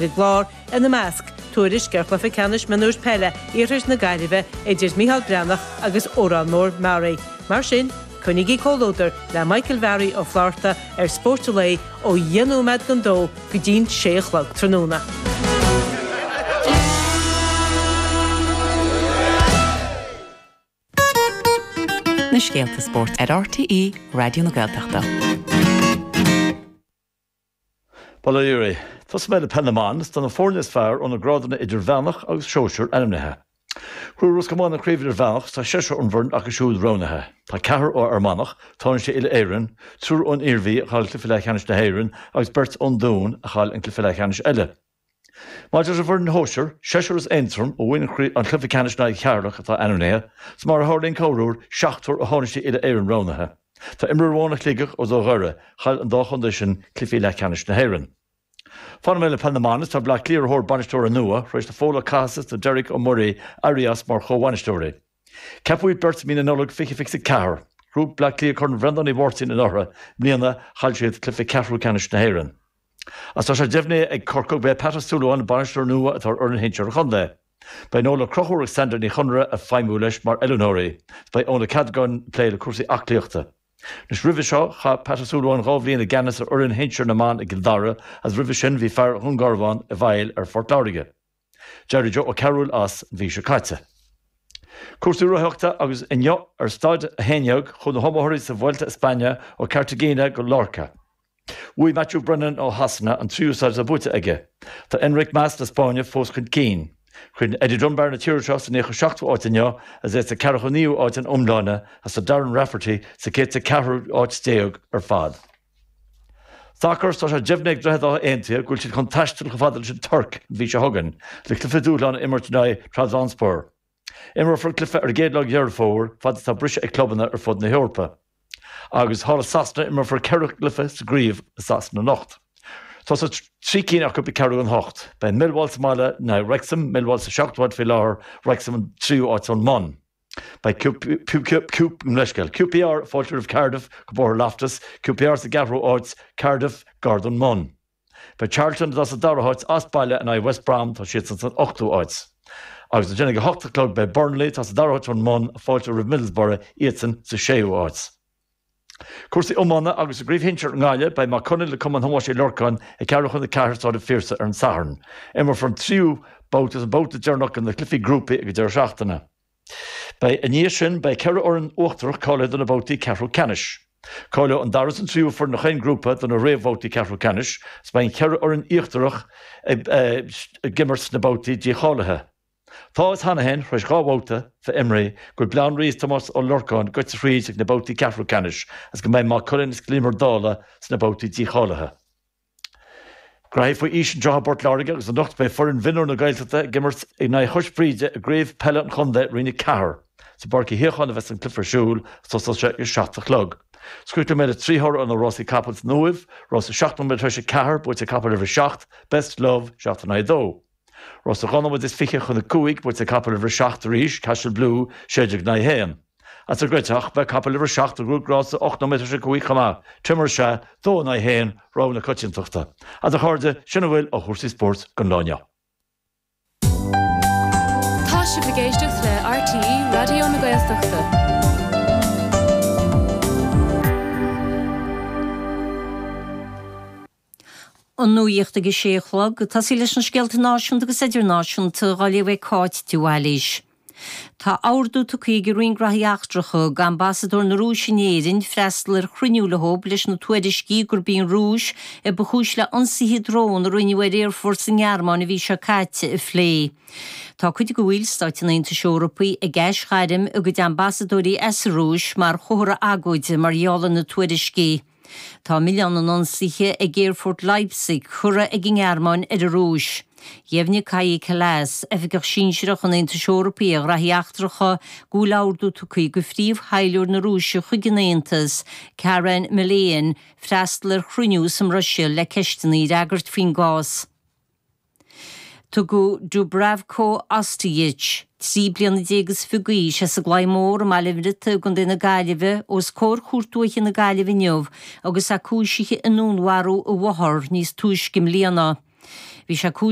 An gclár, ina measc, tuairisc ar chluiche ceannais mionúir peile Iarthar na Gaillimhe idir Micheál Breathnach agus Órán Mór Meáraí. Mar sin, coinnígí comhluadar le Michael Bharry Ó Flatharta ar Spórt an Lae ó dheich nóiméad don dó go dtí'n sé a chlog tráthnóna. Na scéalta spóirt ar RTÉ Raidió na Gaeltachta. Bail ó Dhia oraibh. Tosóidh mé le Peil na mBan, is tá na foirne is fearr ó na grádanna idirmheánach agus sóisir ainmnithe. Ghnóthaigh Ros Comáin an Chraobh Idirmheánach is tá seisear ón bhfoireann acu siúd roghnaithe. Tá ceathrar ó Fhear Manach, tánaiste uile-Éireann, triúr ón Iarmhí a chaill cluiche leathcheannais na hÉireann agus beirt ón Dún a chaill an cluiche leathcheannais eile. Maidir leis an bhfoireann shóisir, seisear as Aontroim a bhain an cluiche ceannais in aghaidh Cheatharlach atá ainmnithe, is mar a tharlaíonn corruair, seachtar ó thánaistí uile-Éireann roghnaithe. Tá imreoir amháin ó Shligeach agus ó Dhoire, chaill an dá chontae sin cluichí leathcheannais na hÉireann. Fanfaidh mé le Peil na mBan is tá Bleá Cliath ar thóir bainisteora nua, tar éis do Phól Ó Cathasaigh is do Derek Ó Muirí éirí as mar chomhbhainisteoirí. Ceapadh iad beirt i mí na Nollag 2024. Ghnóthaigh Bleá Cliath Corn Bhreandáin Uí Mháirtín anuraidh, i mbliana chaill siad cluiche ceathrú ceannais na hÉireann. Agus tá sé deimhnithe ag Corcaigh gurb é Pat Ó Súilleabháin an bainisteoir nua atá ar fhoireann shinsir an chontae. Beidh Noel Ó Conchúir agus Sandra Ní Chonaire ag feidhmiú leis mar oiliúnóirí. Beidh Eoin Ó Ceadagáin ag plé le cúrsaí aclaíochta. Anois roimhe seo chaith Pat Ó Súilleabháin 2 bhliain i gceannas ar fhoireann shinsir na mban i gCill Dara agus roimhe sin bhí fear Dhún Garbhán i bhfeighil ar Phort Láirge. D'éirigh Joe Ó Cearúil as an mhí seo caite. Cúrsaí rothaíochta agus inniu ar staid 11 chuaigh na hiomaitheoirí sa Vuelta a España ó Cartagena go Lorca. Bhuaigh Matthew Brennan ó Shasana an tríú staid atá buaite aige. Tá Enric Mas na Spáinne fós chun cinn. Chríochnaigh Eddie Dunbar na tíre seo sa 97ú áit inniu agus é sa 49ú áit ina iomláine agus tá Darren Rafferty sa 104ú áit déag ar fad. Sacar, Tá sé deimhnithe ag Droichead Átha Aontaithe go bhfuil siad chun taisteal chomh fada leis an Tuirc an mhí seo chugainn le cluiche dúshláin a imirt in aghaidh Trabzonspor. Imreofar an cluiche ar an gcéad lá de Dheireadh Fómhair, fad is atá briseadh ag clubanna ar fud na hEorpa. Agus thall i Sasana, imreofar 4 gcluiche sa gcraobh i Sasana anocht. Tosóidh 3 cinn acu ag ceathrú don hocht. Beidh Millwall sa mbaile in aghaidh Wrexham, Millwall sa seachtú háit faoi láthair, Wrexham an tríú háit ón mbun. Beidh QPR ag fáiltiú roimh Cardiff go Bóthar Loftus, QPR sa gceathrú háit, Cardiff gar don mbun. Beidh Charlton, atá sa dara háit, as baile in aghaidh West Brom, tá siadsan san ochtú háit. Agus ansin ag a hocht a chlog beidh Burnley, atá sa dara háit ón mbun, ag fáiltiú roimh Middlesbrough, iadsan sa séú háit. Cúrsaí iomána agus i gCraobh Shinsir i nGaillimh beidh Maigh Cuilinn le Cumann Thomáis Uí Lorcáin ag ceathrú chun a ceathair i Staid an Phiarsaigh ar an Satharn. Imreofar an tríú babhta agus an babhta deireanach de na cluichí grúpaí ag an deireadh seachtaine. Beidh I ndiaidh sin beidh 4 fhoireann uachtarach cáilithe do na babhtaí ceathrú ceannais. Cáileoidh an dara is an tríú foireann ó chaon grúpa do na réamhbhabhtaí ceathrú ceannais agus beidh an cheithre fhoireann íochtarach ag imirt sna babhtaí dícháilithe. Tá a fhios cheana féin, tar éis 2 bhabhta bheith imrithe, go bhfuil Baile Átha an Rí is Tomás Ó Lorcáin goite thríd ag na babhtaí ceathrú ceannais agus go mbeidh Maigh Cuilinn is Cill Íomair Dála sna babhtaí dícháilithe. Graithí faoi aois anseo i bPort Láirge agus anocht beidh foireann mhionúir na Gaeltachta ag imirt in aghaidh Chois Bhríde i gCraobh Peile an Chontae Roinn 4. Sa bPáirc Uí Shíocháin a bheas an cluiche ar siúl agus tosóidh sé ag a 7 a chlog. Críochnóidh mé le 3 thoradh ó na rásaí capall san Uaimh, Rás 7 nóiméad tar éis a 4, buaite ag capall uimhir 7, Best Love, 7 in aghaidh 2. Rás 12 nóiméad chun 5, buaite ag capall uimhir 7 arís, Cashel Blue, 16 in aghaidh 1. As an gCreatach, beidh capall uimhir 7 a ghnóthaigh rása 8 nóiméad tar éis a 5 chomh maith, Timur Shah, 2 in aghaidh 1, rogha na coitiantachta. Agus a chairde, sin a bhfuil ó chúrsaí spóirt don lá inniu. Tá sibh ag éisteacht le RTÉ Raidió na Gaeltachta. An nuacht ag a sé a chlog, ag tosaí leis na scéalta náisiúnta agus idirnáisiúnta dhá léamh ag Cáit de Bhailís. Tá ordú tugtha ag an Roinn Graithí Eachtracha d'Ambasadóir na Rúise in Éirinn freastal ar chruinniú leo leis na tuairiscí gurb í an Rúis a ba chúis le ionsaithe drón a rinneadh ar aerfort sa nGearmáin an mhí seo caite a phlé. Tá cuid de bhallstáit an Aontais Eorpaigh ag aisghairm a gcuid ambasadóirí as an Rúis mar chomhartha agóide mar gheall ar na tuairiscí. Tá milleán an ionsaithe ag aerfort Leipzig curtha ag an nGearmáin ar an Rúis. Dheimhnigh Kaja Kallas, oifigeach sinsearach an Aontais Eorpaigh ar ghraithí eachtracha, go bhfuil ordú tugtha do phríomh-thaidhleoir na Rúise chuig an Aontas, Karen Melian, freastal ar chruinniú sa mBruiséil le ceisteanna a fhreagairt faoin gcás. Tugadh Dubravko Ostojic, 13 bliana is fiche d'aois, as an gClaí Mór i mBaile an Bhriotaigh i gContae na Gaillimhe, os comhair Chúirt Dúiche na Gaillimhe inniu agus é cúisithe i ndúnmharú a mháthar níos túisce i mbliana. Bhí sé cúisithe.